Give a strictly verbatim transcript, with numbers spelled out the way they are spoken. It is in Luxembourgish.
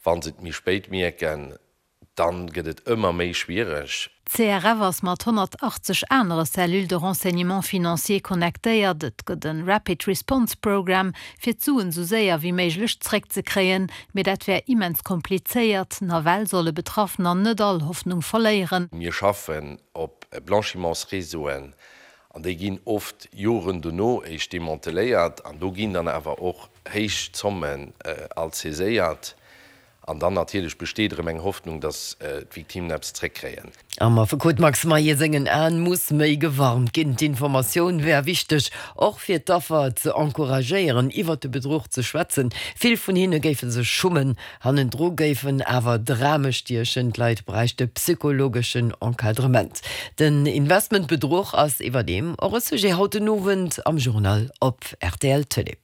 Wann se et méi spéit mierken, dann gëtt et ëmmer méi schwiereg. D'CRF ass mat honnertachtzeg anere Cellules de renseignement financier connectéiert. Et gëtt e Rapid Response Program, fir d'Suen esou séier wéi méiglech zréckzekréien. Mee dat wär immens komplizéiert. Nawell solle Betraffener net all Hoffnung verléieren. Mir schaffen op Blanchimentsréseauen an déi ginn oft Joren dono éischt demanteléiert an do ginn dann awer och héich Zommen alt saiséiert. An dann natierlech besteet erëm eng Hoffnung, datt d'Victimen eppes zréckkréien. Am Affekot Max Mayer sengen Aen muss méi gewarnt ginn. D'Informatioun wär wichteg, och fir d'Affer ze encouragéieren, iwwert de Bedruch ze schwätzen. Vill vun hinne géife sech schummen, hannendru géifen awer Drame stiechen. D'Leit bräichte psychologeschen Encadrement. Den Investmentbedruch ass iwwerdeem och e Sujet haut den Owend am Journal op rtl Tëlee.